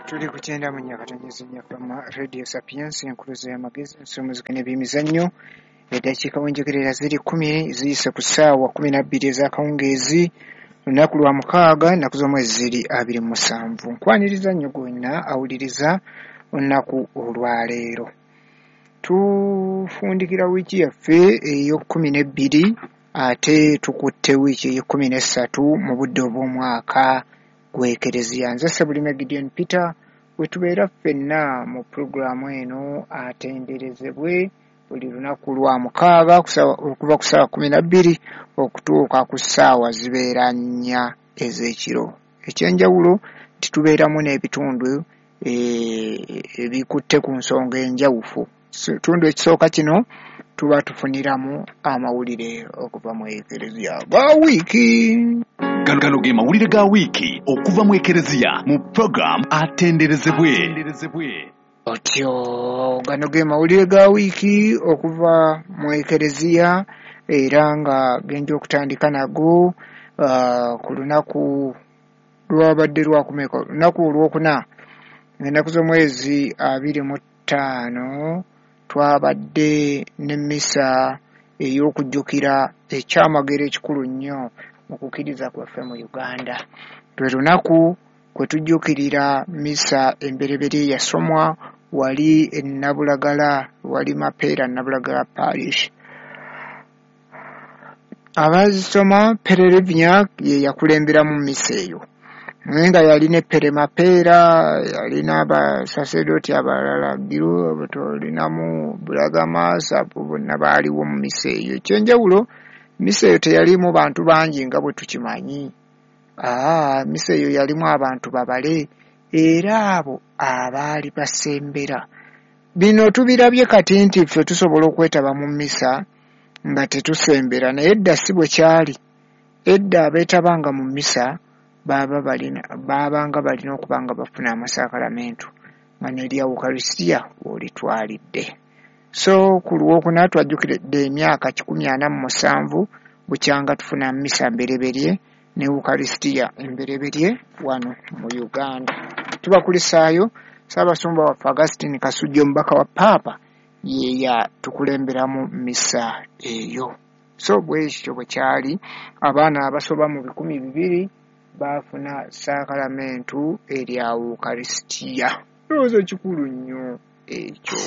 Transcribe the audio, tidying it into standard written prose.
Tuli ku 94.4 FM Radio Sapiens, enkuluze y'amagezi, ensomuzika n'ebyemizannyo. Eddakiika wenjogerera ziri 10 ziyise ku ssaawa 12 ez'akawungeezi, lunaku lwa mukaaga, ennaku z'omwezi ziri 27. Nkwaniriza nnyo gwenna awuliriza olunaku olwaleero. Tufundikira wiiki yaffe ey'okkumi n'ebbiri, ate tukutte wiiki ey'ekkumi n'essatu mu budde obw'omwaka gw'Ekereziya. Nze Ssebulime Gideon Peter, we tubeera ffenna mu pulogulaamu eno Atenderezebwe buli lunaku lwa mukaaga okuva ku ssaawa 12 okutuuka ku ssaawa zibeera 4 ez'ekiro. Ekyenjawulo nti tubeeramu n'ebitundu ebikutte ku nsonga enjawufu. Ekitundu ekisooka kino tuba tufuniramu amawulire okuva mu Ekereziya ga wiiki. Gano ge mawulire ga wiiki okuva mu Ekereziya mu program Atenderezebwe. Otyo, gano ge mawulire ga wiiki okuva mu Ekereziya, era nga genja okutandika nago ku lunaku lwabadde lwakumeka, olunaku olwokuna, ennaku z'omwezi 25, twabadde n'emmisa ey'okujjukira ekyamagero ekikulu nnyo mu kukkiriza kwaffe mu Uganda. Lwe lunaku kwe tujjukirira misa embereberye yasomwa wali e Nabulagala, wali Mapeera Nabulagala Parish. Abazisoma, Pere Livnyak ye yakulemberamu misa eyo, naye nga yalina Pere Mapeera, yalina abasasedooti abalala, Giru, tolinamu Bulagamas, abo bonna baaliwo mu misa eyo. Ekyenjawulo, misa eyo teyaliimu bantu bangi nga bwe tukimanyi. Misa eyo yalimu abantu babale, era abo abaali basembera. Bino tubirabye kati nti ffe tusobola okwetaba mu misa nga tetusembera, naye edda si bwe kyali. Edda abeetabanga mu misa baabanga balina okuba nga bafuna amasakalamentu nga n'erya Ukaristia w'olitwalidde. So ku lwokuna twajjukiridde emyaka 147 bukyanga tufuna misa mbereberye ne Ukaristia embereberye wano mu Uganda. Tubakulisaayo Ssaabasumba waffe Augustine Kasujja, omubaka wa Paapa, ye yatukulemberamu misa eyo. So bwekityo bwe kyali, abaana abasoba mu 2,000 baafuna saakalamentu erya Ukaristia. Ndowooza kikulu nnyo ekyo.